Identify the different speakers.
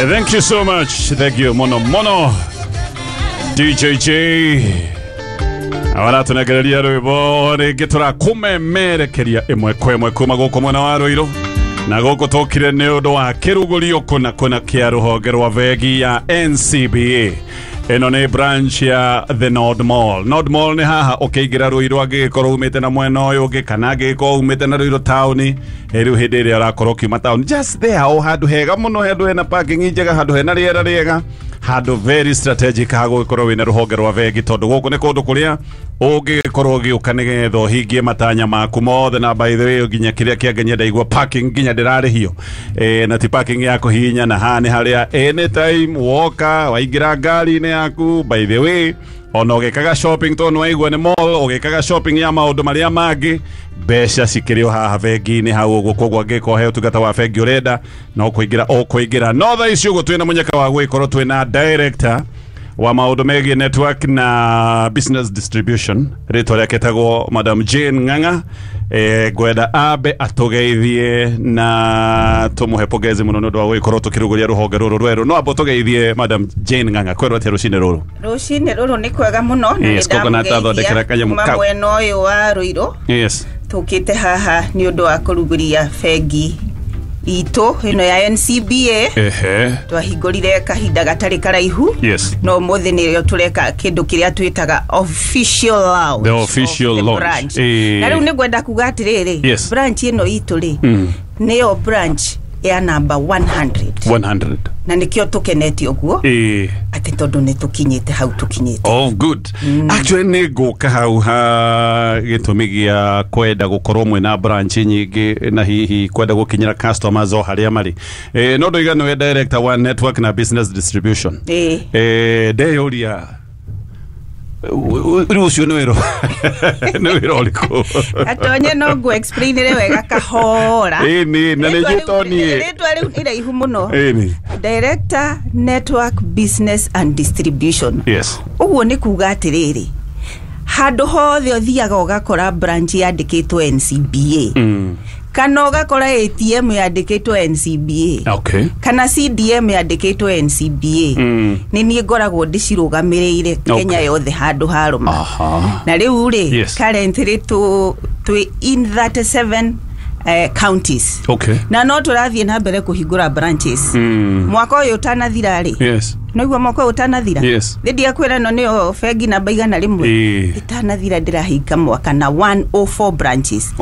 Speaker 1: Thank you so much. Thank you muno muno. DJJ. Abaratunegereria rwimbo rĩngĩ tũrakũmemerekeria ĩmwe kwa ĩmwe kuma gũkũ mwena wa Rũirũ na gũkũ tũkire nĩ ũndũ wa kĩrugũrio kũna kũna kĩa rũhonge rwa bengi ya NCBA. Ĩno nĩ branch ya the Nord Mall. Nord Mall nĩ haha ũkĩingĩra Rũirũ angĩgĩkorwo umĩte na mwena ũyũ ũngĩ kana angĩgĩkorwo umĩte na Rũirũ taũni, rĩu hĩndĩ ĩrĩa ũrakorwo ũkiuma taũni, just there, o handũ hega mũno, handũ hena parking njega, handũ hena rĩera rĩega, handũ very strategic ha gũgĩkorwo wĩna rũhonge rwa bengi, tondũ gũkũ nĩ kũndũ kũrĩa ũngĩgĩkorwo ũgĩũka nĩgetha ũhingie matanya maku mothe. Na by the way, nginya kĩrĩa kĩangenia, ndaigua parking nginya ndĩrarĩhio, na ti parking ya kũhihinya, na haha nĩ harĩa anytime woka waingĩra ngari-inĩ yaku, by the way, ona ũgĩkaga shopping, tondũ nĩwaigua nĩ mall, ũgĩkaga shopping ya maũndũ marĩa mangĩ, mbeca cikĩrĩ o haha bengi-inĩ hau ũguo. Koguo angĩkorwo he ũtungata wa bengi ũrenda, no kũingĩra ũkũingĩra. No thaa ici ũguo twĩna mũnyaka wa gũgĩkorwo twĩna director wa maũndũ megiĩ network na business distribution, rĩtwa rĩake etagwo Madam Jane Ng'ang'a. Ngwenda ambe atũgeithie na tũmũhe pongezi mũno nĩ ũndũ wa gũgĩkorwo tũkĩrugũria rũhonge rũrũ rwerũ. No amba tũgeithie Madam Jane Ng'ang'a. Kwerwo atĩa rũcinĩ rũrũ?
Speaker 2: Rũcinĩ rũrũ nĩ kwega mũno na
Speaker 1: Yes, koguo na tathondekera kanyamũ
Speaker 2: kuma
Speaker 1: kau.
Speaker 2: mwena ũyũ wa Rũirũ. Tũkĩte haha nĩ ũndũ wa kũrugũria bengi itũ ĩno ya NCBA. Twahingũrire kahinda gatarĩ karaihu, no ũmũthĩ nĩrĩo tũreka kĩndũ kĩrĩa twĩtaga official launch
Speaker 1: The official
Speaker 2: of the
Speaker 1: launch.
Speaker 2: branch. Na rĩu nĩ ngwenda kuga atĩrĩrĩ, branch ĩno itũ rĩ, nĩyo branch ya namba 100.
Speaker 1: 100.
Speaker 2: Na nĩkĩo tũkenete ũguo, atĩ tondũ nĩ tũkinyĩte hau tũkinyĩte.
Speaker 1: Oh, good. Actually, nĩ ngũka hau ha gĩtũmi gĩa kwenda gũkorwo mwĩna branch nyingĩ na hihi kwenda gũkinyĩra customers o harĩa marĩ. No ndoiga nĩwe director wa network na business distribution.
Speaker 2: Ĩĩ.
Speaker 1: Ndeyũria rĩu ũcio nĩ wĩra ũrĩkũ?
Speaker 2: Atonye no ngũ explainire wega kahora.
Speaker 1: Ĩni, na nĩ
Speaker 2: Rĩtwa
Speaker 1: njĩtwo niĩ.
Speaker 2: Rĩtwa rĩu nĩ iraihu mũno. Director, network, business and distribution. Ũguo nĩ kuga atĩrĩrĩ, handũ hothe ũthiaga ũgakora branch yandĩkĩtwo NCBA, kana ũgakora ATM yandĩkĩtwo NCBA, kana CDM yandĩkĩtwo NCBA, nĩ niĩ ngoragwo ndĩcirũgamĩrĩire Kenya yothe handũ harũma. Na rĩu rĩ, currently twĩ in 37 counties, na no tũrathiĩ na mbere kũhingũra branches. Mwaka ũyũ ũtanathira rĩ, noiguo mwaka ũyũ ũtanathira, thĩ ndiakwĩra ĩno nĩyo bengi namba 100, ĩtanathira ndĩrahinga mwaka na 104 branches.